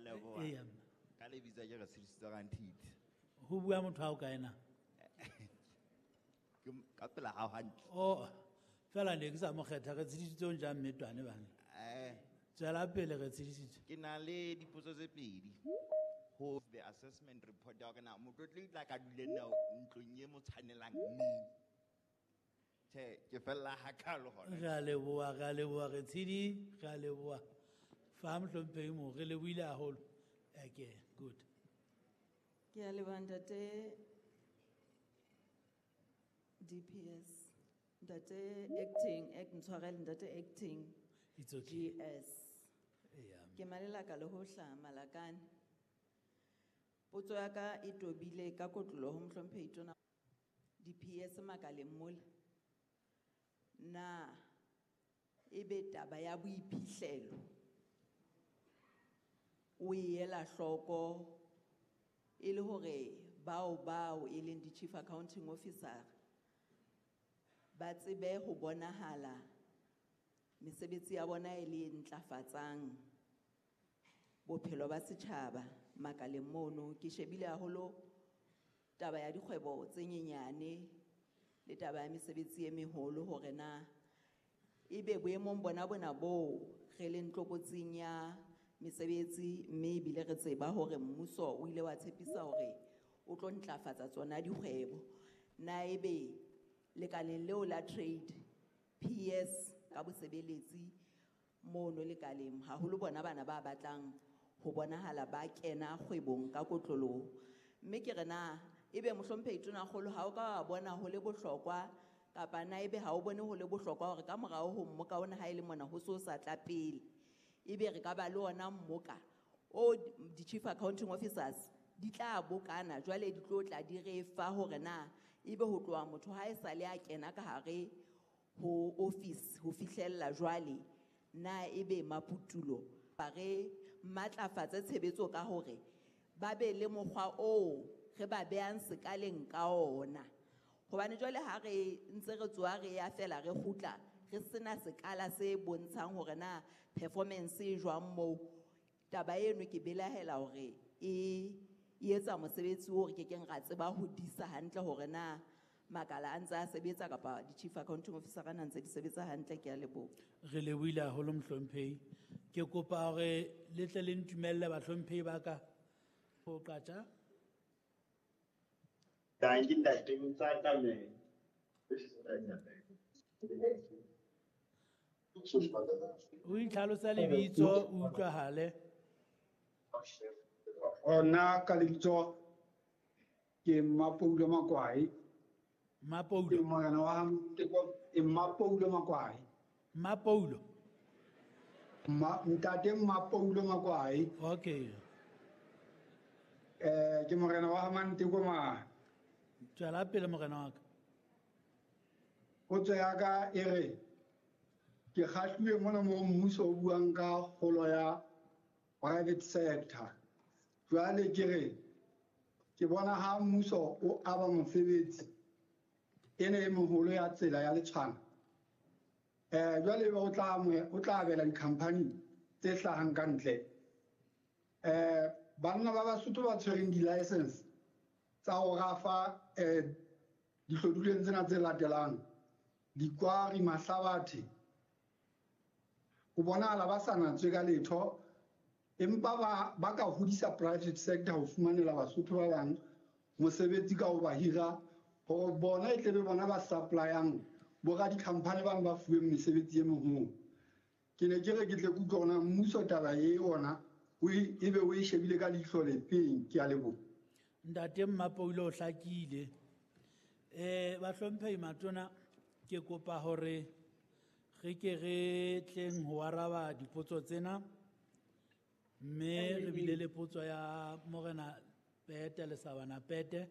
leboha. Eya, mme. Ka lebitso ke re Tshediso Ranthiti. Ho bua motho ha o kae na? Ke ka pela hao hantle. Oh, fela ne ke sa mo kgetha re tshedisitse o jang mmetwane bana. Tswela pele re tshedisitse. Ke na le dipotso tse pedi. Ho the assessment report ya hore na motlotlehi tla ka dule na ntlong e mo tshwanelang neng. Tjhe, ke fella hakalo hona. Re a leboha, re a leboha, re tshedi, re a leboha. Fa mohlomphehi mo, re lebohile haholo. Okay, good. Ke a leboha ntate DPS, ntate acting, act ntshwarele ntate acting It's okay. GS. Eya. Ke malelaka le ho hlaha Malakane. Potso ya ka e tobile ka kotloloho ho mohlomphehi tona DPS makaleng mola. Na ebe taba ya boiphihlelo o e ela hloko e le hore bao e leng di-chief accounting officer ba tsebe ho bonahala mesebetsi ya bona e le e ntlafatsang bophelo ba setjhaba makaleng mono. Ke shebile haholo taba ya dikgwebo tse nyenyane le taba ya mesebetsi e meholo hore na ebe boemong bona bona boo re leng tlokotsing ya mesebetsi, mme ebile re tseba hore mmuso o ile wa tshepisa hore o tlo ntlafatsa tsona dikgwebo. Na ebe lekaleng leo la trade PS ka bosebeletsi mono lekaleng haholo bona bana ba batlang ho bonahala ba kena kgwebong ka kotloloho. Mme ke re na ebe mohlomphehi Tonakgolo ha o ka wa bona ho le bohlokwa kapa na ebe ha o bone ho le bohlokwa hore ka morao ho mmoka ona ha e le mona ho so sa tla pele ebe re ka ba le ona mmoka o di-chief accounting officers di tla bokana jwale di tlo tla di re fa hore na ebe ho tloha motho ha e sale a kena ka hare ho office ho fihlella jwale na ebe maputulo ba re matlafatse tshebetso ka hore ba be le mokgwa oo re ba behang sekaleng ka ona. Hobane jwale ha re ntse re tsoha re ya fela re kgutla re sena sekala se bontshang hore na performance e jwang moo, taba eno ke belahela hore e etsa mosebetsi oo re kekeng ra tseba ho disa hantle hore na makala a ntse a sebetsa kapa di-chief accounting officer a ntse di sebetsa hantle. Ke a leboha. Re lebohile haholo mohlomphehi. Ke kopa hore le tle le ntumelle bahlomphehi ba ka ho qatja. Dankie ntate Motsakamele. O itlhalosa lebitso, o utlwahale. Nna ka lebitso ke Mmapoulo Makwai. Mmapoulo. Ke morena wa ke Mmapoulo Makwai. Mmapoulo. Ntate Mmapoulo Makwai. Okay. Ke morena wa Manteko ma. Tswela pele morena wa ka. Potso ya ka e re ke kgahluwe mona mo mmuso o buang ka kgolo ya private sector. Jwale ke re ke bona ha mmuso o aba mosebetsi ene e moholo ya tsela ya Letshwana. Jwale o tla abela di-company tse hlahang ka ntle. Banna ba Basotho ba tshwereng di-license tsa ho rafa dihloduleng tsena tse latelang, dikwari, mahlabathe, ho bonahala ba sa natswe ka letho, empa ba ka hodisa private sector ho fumanela Basotho ba bang mosebetsi ka ho ba hira hore bona e tlebe bona ba supplyang bo radikhamphani bang ba fuweng mesebetsi e meholo. Ke ne ke re ke tle ke utlwe hore na mmuso taba e ona ebe o e shebile ka leihlo le feng. Ke a leboha. Ntate Mmapoulo o hlakile. Bahlomphehi matona, ke kopa hore re ke re tleng ho araba dipotso tsena, mme re bile le potso ya Morena Pete le Sabana Pete.